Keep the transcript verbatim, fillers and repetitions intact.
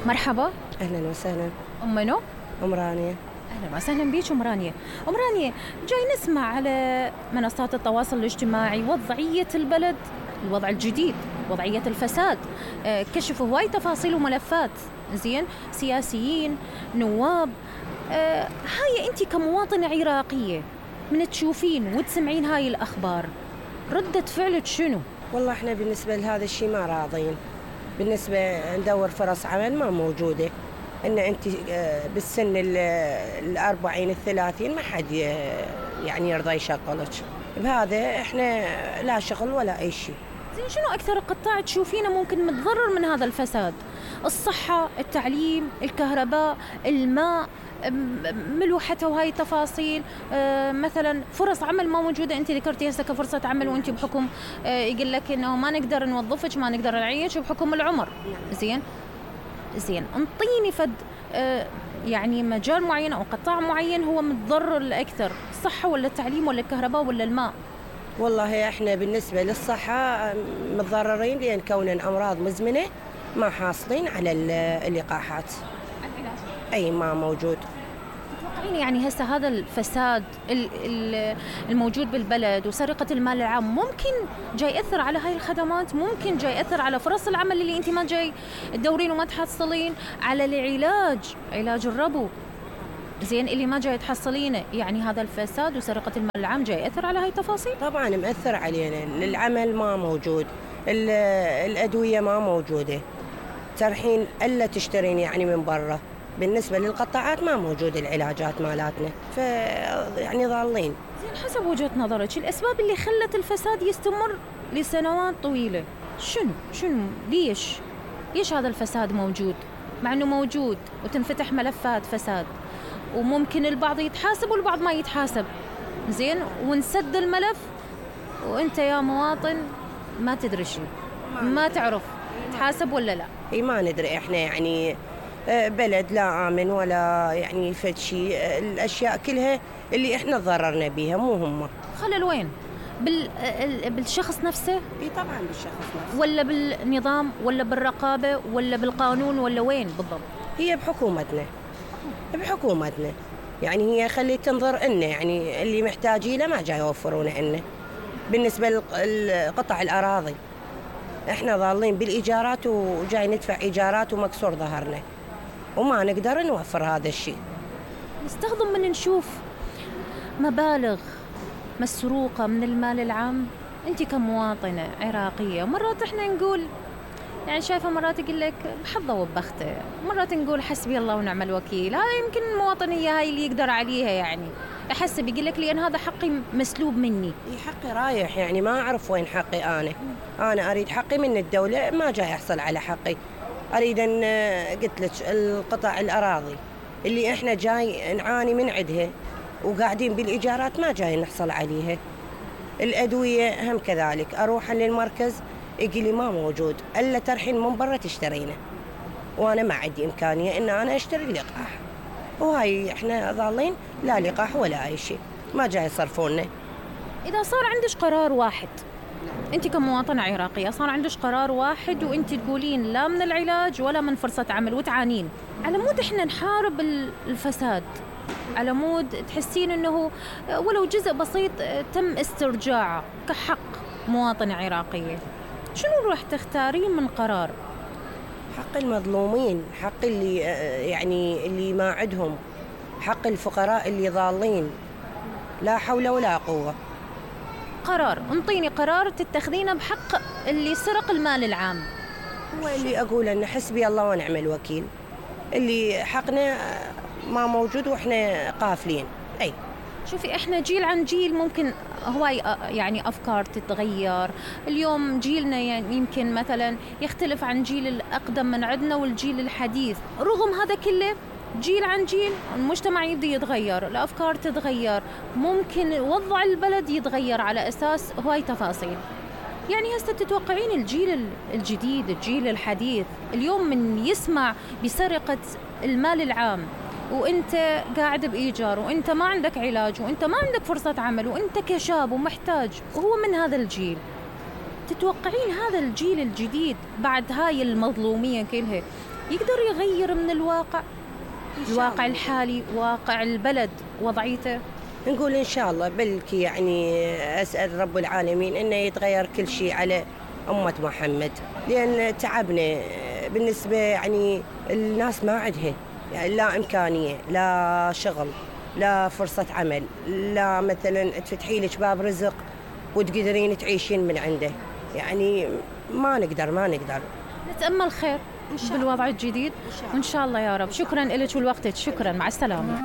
مرحبا. أهلا وسهلا. أم منو؟ أم رانيا. أهلا وسهلا بيك أم رانيا. أم رانيا، جاي نسمع على منصات التواصل الاجتماعي وضعية البلد، الوضع الجديد، وضعية الفساد. آه، كشفوا هواي تفاصيل وملفات، زين، سياسيين، نواب. آه، هاي أنت كمواطنة عراقية من تشوفين وتسمعين هاي الأخبار، ردة فعلك شنو؟ والله احنا بالنسبة لهذا الشيء ما راضين. بالنسبة ندور فرص عمل ما موجودة. ان انت بالسن الأربعين الثلاثين ما حد يعني يرضى يشغلك. بهذا احنا لا شغل ولا اي شيء. زين، شنو أكثر قطاع تشوفينه ممكن متضرر من هذا الفساد؟ الصحة، التعليم، الكهرباء، الماء، ملوحة وهاي التفاصيل. آه مثلا فرص عمل ما موجودة. أنت ذكرتي هسه كفرصة عمل وأنت بحكم آه يقول لك إنه ما نقدر نوظفك، ما نقدر نعيش بحكم العمر. زين زين انطيني فد آه يعني مجال معين أو قطاع معين هو متضرر الأكثر، الصحة ولا التعليم ولا الكهرباء ولا الماء؟ والله احنا بالنسبة للصحة متضررين، لأن كوننا أمراض مزمنة ما حاصلين على اللقاحات. العلاج أي ما موجود. تتوقعين يعني هسه هذا الفساد الموجود بالبلد وسرقة المال العام ممكن جاي يأثر على هاي الخدمات؟ ممكن جاي يأثر على فرص العمل اللي انت ما جاي تدورين وما تحصلين، على العلاج، علاج الربو، زين، اللي ما جاي تحصلينه؟ يعني هذا الفساد وسرقة المال العام جاي يأثر على هاي التفاصيل؟ طبعا مأثر علينا. العمل ما موجود، الأدوية ما موجودة، ترحين ألا تشترين يعني من برا. بالنسبة للقطاعات ما موجود العلاجات مالاتنا، ف يعني ضالين. زين، حسب وجهة نظرك الأسباب اللي خلت الفساد يستمر لسنوات طويلة شنو؟ شنو؟ ليش؟ ليش هذا الفساد موجود؟ مع أنه موجود وتنفتح ملفات فساد وممكن البعض يتحاسب والبعض ما يتحاسب، زين، ونسد الملف وانت يا مواطن ما تدري شيء، ما تعرف تحاسب ولا لا. اي ما ندري احنا، يعني بلد لا آمن ولا يعني فد شيء. الأشياء كلها اللي احنا تضررنا بيها مو هم. خلل وين؟ بال... بالشخص نفسه؟ اي طبعا بالشخص نفسه. ولا بالنظام ولا بالرقابة ولا بالقانون ولا وين بالضبط؟ هي بحكومتنا، بحكومتنا يعني هي خليت تنظر لنا، يعني اللي محتاجينه ما جاي يوفرونه لنا. بالنسبة لقطع الأراضي احنا ضالين بالإيجارات وجاي ندفع إيجارات ومكسور ظهرنا وما نقدر نوفر هذا الشيء. نستخدم من نشوف مبالغ مسروقة من المال العام. انت كمواطنة عراقية مرات احنا نقول يعني شايفة، مرات يقول لك بحظه وبخته، مرات نقول حسبي الله ونعم الوكيل. هاي يمكن المواطنية هاي اللي يقدر عليها، يعني يحسب يقول لك لأن هذا حقي مسلوب مني. اي حقي رايح، يعني ما أعرف وين حقي. أنا أنا أريد حقي من الدولة، ما جاي أحصل على حقي. أريد أن قلت لك القطع الأراضي اللي إحنا جاي نعاني من عدها وقاعدين بالإيجارات ما جاي نحصل عليها. الأدوية هم كذلك، أروح للمركز يقول لي ما موجود إلا ترحين من برا تشترينه، وأنا ما عندي إمكانية إن أنا أشتري اللقاح. وهاي إحنا ظالين لا لقاح ولا أي شيء، ما جاي يصرفوننا. إذا صار عندك قرار واحد، أنت كمواطنة عراقية صار عندك قرار واحد وأنت تقولين لا من العلاج ولا من فرصة عمل وتعانين، على مود إحنا نحارب الفساد، على مود تحسين أنه ولو جزء بسيط تم استرجاعه كحق مواطنة عراقية، شنو راح تختارين من قرار؟ حق المظلومين، حق اللي يعني اللي ما عندهم، حق الفقراء اللي ضالين، لا حول ولا قوة. قرار، انطيني قرار تتخذينه بحق اللي سرق المال العام. هو اللي أقول أن حسبي الله ونعم الوكيل، اللي حقنا ما موجود وإحنا قافلين. أي شوفي، إحنا جيل عن جيل ممكن هواي يعني أفكار تتغير. اليوم جيلنا يعني يمكن مثلا يختلف عن جيل الأقدم من عندنا والجيل الحديث. رغم هذا كله جيل عن جيل المجتمع يبدأ يتغير، الأفكار تتغير، ممكن وضع البلد يتغير على أساس هواي تفاصيل. يعني هسه تتوقعين الجيل الجديد، الجيل الحديث اليوم من يسمع بسرقة المال العام وانت قاعد بإيجار وانت ما عندك علاج وانت ما عندك فرصة عمل وانت كشاب ومحتاج وهو من هذا الجيل، تتوقعين هذا الجيل الجديد بعد هاي المظلومية كلها يقدر يغير من الواقع الواقع الحالي، واقع البلد وضعيته؟ نقول إن شاء الله، بلكي يعني أسأل رب العالمين إنه يتغير كل شيء على أمة محمد، لأن تعبنا بالنسبة يعني الناس ما عندها يعني لا إمكانية، لا شغل، لا فرصة عمل، لا مثلا تفتحي لك باب رزق وتقدرين تعيشين من عنده، يعني ما نقدر ما نقدر نتأمل خير بالوضع الجديد، وإن شاء الله يا رب. شكرا لك ولوقتك، شكرا، مع السلامة.